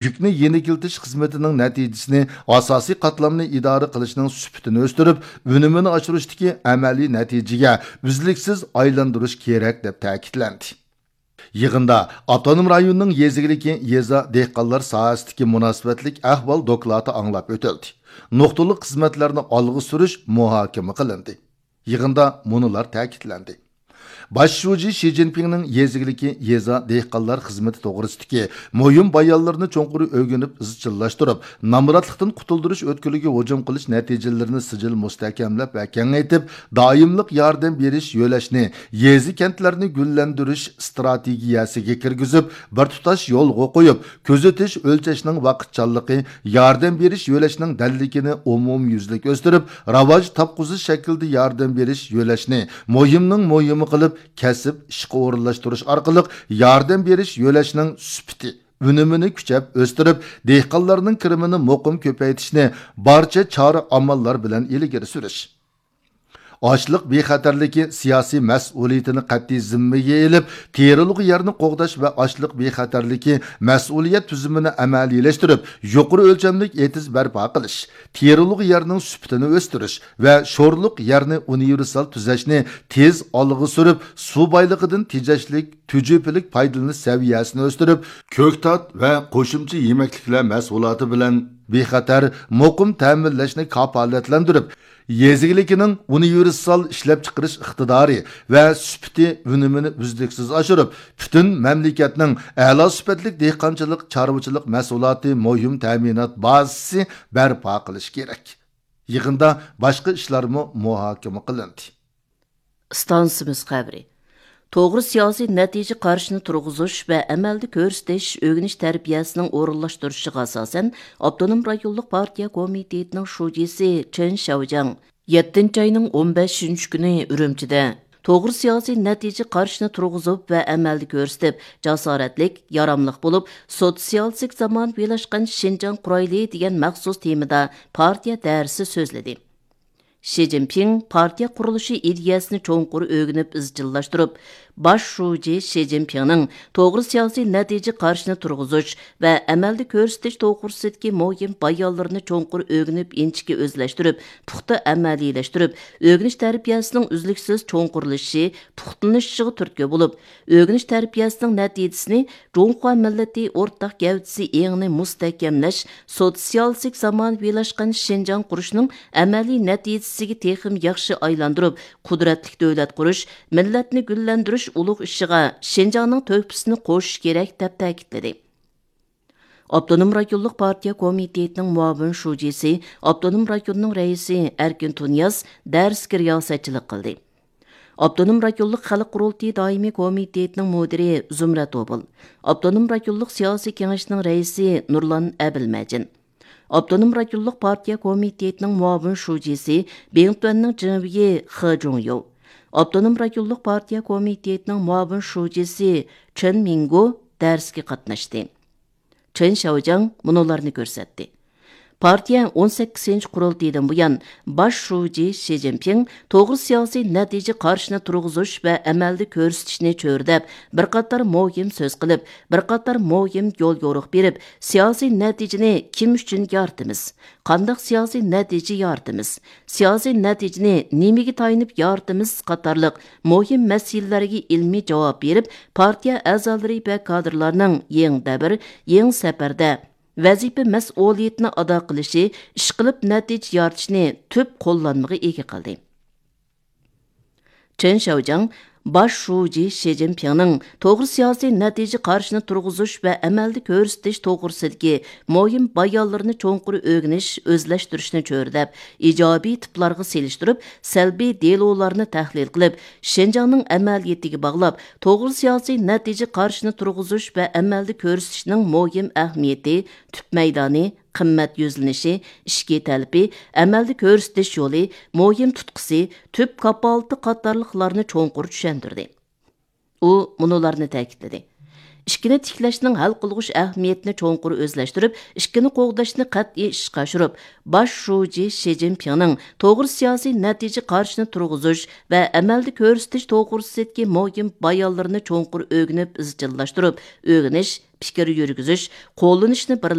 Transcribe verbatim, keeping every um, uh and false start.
يۈكنى يېنىكلىتىش خىزمىتىنىڭ نەتىجىسىنى، ئاساسىي قاتلامنى ئىدارە قىلىشنىڭ سۈپىتىنى ئۆستۈرۈپ، ئۈنۈمىنى ئاشۇرۇشتىكى ئەمەلىي نەتىجىگە ئۈزلۈكسىز ئايلاندۇرۇش كېرەك، دەپ تەكىتلەندى. يىغىندا ئاپتونوم رايوننىڭ يېزا ئىگىلىكى، يېزا، دېھقانلار ساھەسىدىكى مۇناسىۋەتلىك ئەھۋال دوكلاتى ئاڭلاپ ئۆتۈلدى. نۇقتىلىق خىزمەتلەرنى ئالغا سۈرۈش مۇھاكىمە قىلىندى. يىغىندا مۇنۇلار تەكىتلەندى. باش شۇجى شى جىنپىڭنىڭ يېزا ئىگىلىكى، يېزا، دېھقانلار خىزمىتى توغرىسىدىكى مۇھىم بايانلىرىنى چوڭقۇر ئۆگىنىپ ئىزچىللاشتۇرۇپ، نامراتلىقتىن قۇتۇلدۇرۇش ئۆتكىلىگە ھۇجۇم قىلىش نەتىجىلىرىنى سىجىل مۇستەھكەملەپ ۋە كېڭەيتىپ، دائىملىق ياردەم بېرىش يۆلەشنى، يېزا، كەنتلەرنى گۈللەندۈرۈش ئىستراتېگىيەسىگە كىرگۈزۈپ، بىر تۇتاش يولغا قويۇپ، كۆزىتىش، ئۆلچەشنىڭ ۋاقىتچانلىقى، ياردەم بېرىش يۆلەشنىڭ دەللىكىنى ئومۇميۈزلۈك ئۆستۈرۈپ، راۋاج تاپقۇزۇش شەكلىدە ياردەم بېرىش يۆلەشنى مۇھىمنىڭ مۇھىمى قىلىپ، كەسىپ ئىشقا ئورۇنلاشتۇرۇش ئارقىلىق ياردەم بېرىش يۆلەشنىڭ سۈپىتى، ئۈنۈمىنى كۈچەپ ئۆستۈرۈپ، دېھقانلارنىڭ كىرىمىنى مۇقىم كۆپەيتىشنى بارچە چارە ئاماللار بىلەن ئىلگىرى سۈرۈش. ئاشلىق بىخەتەرلىكى سىياسىي مەسئۇلىيىتىنى قەتئىي زىممىگە ئېلىپ، تېرىلغۇ يەرنى قوغداش ۋە ئاشلىق بىخەتەرلىكى مەسئۇلىيەت تۈزۈمىنى ئەمەلىيلەشتۈرۈپ، يۇقىرى ئۆلچەملىك ئېتىز بەرپا قىلىش، تېرىلغۇ يەرنىڭ سۈپىتىنى ئۆستۈرۈش ۋە شورلۇق يەرنى ئۇنىۋېرسال تۈزەشنى تېز ئالغا سۈرۈپ، سۇ بايلىقىدىن تېجەشلىك، تۈجۈپىلىك پايدىلىنىش سەۋىيەسىنى ئۆستۈرۈپ، كۆكتات ۋە قوشۇمچە يېمەكلىكلەر مەھسۇلاتى بىلەن بىخەتەر، مۇقىم تەمىنلەشنى كاپالەتلەندۈرۈپ، يېزا ئىگىلىكىنىڭ ئۇنىۋېرسال ئىشلەپچىقىرىش ئىقتىدارى ۋە سۈپىتى ئۈنۈمىنى ئۈزلۈكسىز ئاشۇرۇپ، پۈتۈن مەملىكەتنىڭ ئەلا سۈپەتلىك دېھقانچىلىق، چارۋىچىلىق مەھسۇلاتى مۇھىم تەمىنات بازىسى بەرپا قىلىش كېرەك. يىغىندا باشقا ئىشلارمۇ مۇھاكىمە قىلىندى. ئىستانسىمىز خەۋىرى. توغرا سىياسىي نەتىجە قارىشىنى تۇرغۇزۇش ۋە ئەمەلدە كۆرسىتىش ئۆگىنىش تەربىيەسىنىڭ ئورۇنلاشتۇرۇشىغا ئاساسەن، ئاپتونوم رايونلۇق پارتىيە كومىتېتىنىڭ شۇجىسى چېن شياۋجياڭ يەتتىنچى ئاينىڭ ئون بەشىنچى كۈنى ئۈرۈمچىدە توغرا سىياسىي نەتىجە قارىشىنى تۇرغۇزۇپ ۋە ئەمەلدە كۆرسىتىپ، جاسارەتلىك، ياراملىق بولۇپ، سوتسىيالىستىك زامانىۋىلاشقان شىنجاڭ قۇرايلى دېگەن مەخسۇس تېمىدا پارتىيە دەرسى سۆزلىدى. شى جىنپىڭ پارتىيە قۇرۇلۇشى ئىدىيەسىنى چوڭقۇر ئۆگىنىپ ئىزچىللاشتۇرۇپ، باش شۇجى شى جىنپىڭنىڭ توغرا سىياسىي نەتىجە قارىشىنى تۇرغۇزۇش ۋە ئەمەلدە كۆرسىتىش توغرىسىدىكى مۇھىم بايانلىرىنى چوڭقۇر ئۆگىنىپ، ئىنچىكە ئۆزلەشتۈرۈپ، پۇختا ئەمەلىيلەشتۈرۈپ، ئۆگىنىش تەربىيەسىنىڭ ئۈزلۈكسىز چوڭقۇرلىشىشى، پۇختىلىنىشىغا تۈرتكە بولۇپ، ئۆگىنىش تەربىيەسىنىڭ نەتىجىسىنى جۇڭخۇا مىللىتى ئورتاق گەۋدىسى ئېڭىنى مۇستەھكەملەش، سوتسىيالىستىك زامانىۋىلاشقان شىنجاڭ قۇرۇشنىڭ ئەمەلىي نەتىجىسىگە تېخىمۇ ياخشى ئايلاندۇرۇپ، قۇدرەتلىك دۆلەت قۇرۇش، مىللەتنى گۈللەندۈرۈش ئۇلۇغ ئىشىغا شىنجاڭنىڭ تۆھپىسىنى قوشۇش كېرەك، دەپ تەكىتلىدى. ئاپتونوم رايونلۇق پارتىيە كومىتېتىنىڭ مۇئاۋىن شۇجىسى، ئاپتونوم رايوننىڭ رەئىسى ئەركىن تۇنىياز دەرسكە رىياسەتچىلىك قىلدى. ئاپتونوم رايونلۇق خەلق قۇرۇلتىيى دائىمىي كومىتېتىنىڭ مۇدىرى زۇمرەت ئوبۇل، ئاپتونوم رايونلۇق سىياسىي كېڭەشنىڭ رەئىسى نۇرلان ئەبىلمەجىن، ئاپتونوم رايونلۇق پارتىيە كومىتېتىنىڭ مۇئاۋىن شۇجىسى، بىڭتۈەننىڭ جېڭۋېيى خې جۇڭيو، ئاپتونوم رايونلۇق پارتىيە كومىتېتىنىڭ مۇئاۋىن شۇجىسى چېن مىڭگو دەرسكە قاتناشتى. چېن شياۋجياڭ مۇنۇلارنى كۆرسەتتى. پارتىيە ئون سەككىزىنچى قۇرۇلتىيىدىن بۇيان، باش شۇجى شى جىنپىڭ توغرا سىياسىي نەتىجە قارىشىنى تۇرغۇزۇش ۋە ئەمەلدە كۆرسىتىشنى چۆرىدەپ، بىر قاتار مۇھىم سۆز قىلىپ، بىر قاتار مۇھىم يول يورۇق بېرىپ، سىياسىي نەتىجىنى كىم ئۈچۈن يارىتىمىز؟ قانداق سىياسىي نەتىجە يارىتىمىز؟ سىياسىي نەتىجىنى نېمىگە تايىنىپ يارىتىمىز؟ قاتارلىق مۇھىم مەسىلىلەرگە ئىلمىي جاۋاب بېرىپ، پارتىيە ئەزالىرى ۋە كادىرلارنىڭ يېڭى دەۋر، يېڭى سەپەردە ۋەزىپە مەسئۇلىيىتىنى ئادا قىلىشى، ئىشقىلىپ نەتىجە يارىتىشنى تۈپ قوللانمىغا ئىگە قىلدى. چېن شياۋجياڭ باش شۇجى شى جىنپىڭنىڭ توغرا سىياسىي نەتىجە قارىشىنى تۇرغۇزۇش ۋە ئەمەلدە كۆرسىتىش توغرىسىدىكى مۇھىم بايانلىرىنى چوڭقۇر ئۆگىنىش، ئۆزلەشتۈرۈشنى چۆرىدەپ، ئىجابىي تىپلارغا سېلىشتۇرۇپ، سەلبىي دېلولارنى تەھلىل قىلىپ، شىنجاڭنىڭ ئەمەلىيىتىگە باغلاپ، توغرا سىياسىي نەتىجە قارىشىنى تۇرغۇزۇش ۋە ئەمەلدە كۆرسىتىشنىڭ مۇھىم ئەھمىيىتى، تۈپ مەيدانى، قىممەت يۈزلىنىشى، ئىچكى تەلىپى، ئەمەلدە كۆرسىتىش يولى، مۇھىم تۇتقىسى، تۈپ كاپالىتى قاتارلىقلارنى چوڭقۇر چۈشەندۈردى. ئۇ مۇنۇلارنى تەكىتلىدى. ئىككىنى تىكلەشنىڭ ھەل قىلغۇچ ئەھمىيىتىنى چوڭقۇر ئۆزلەشتۈرۈپ، ئىككىنى قوغداشنى قەتئىي ئىشقا ئاشۇرۇپ، باش شۇجى شى جىنپىڭنىڭ توغرا سىياسىي نەتىجە قارىشىنى تۇرغۇزۇش ۋە ئەمەلدە كۆرسىتىش توغرىسىدىكى مۇھىم بايانلىرىنى چوڭقۇر ئۆگىنىپ ئىزچىللاشتۇرۇپ، ئۆگىنىش، پىكىر يۈرگۈزۈش، قوللىنىشنى بىر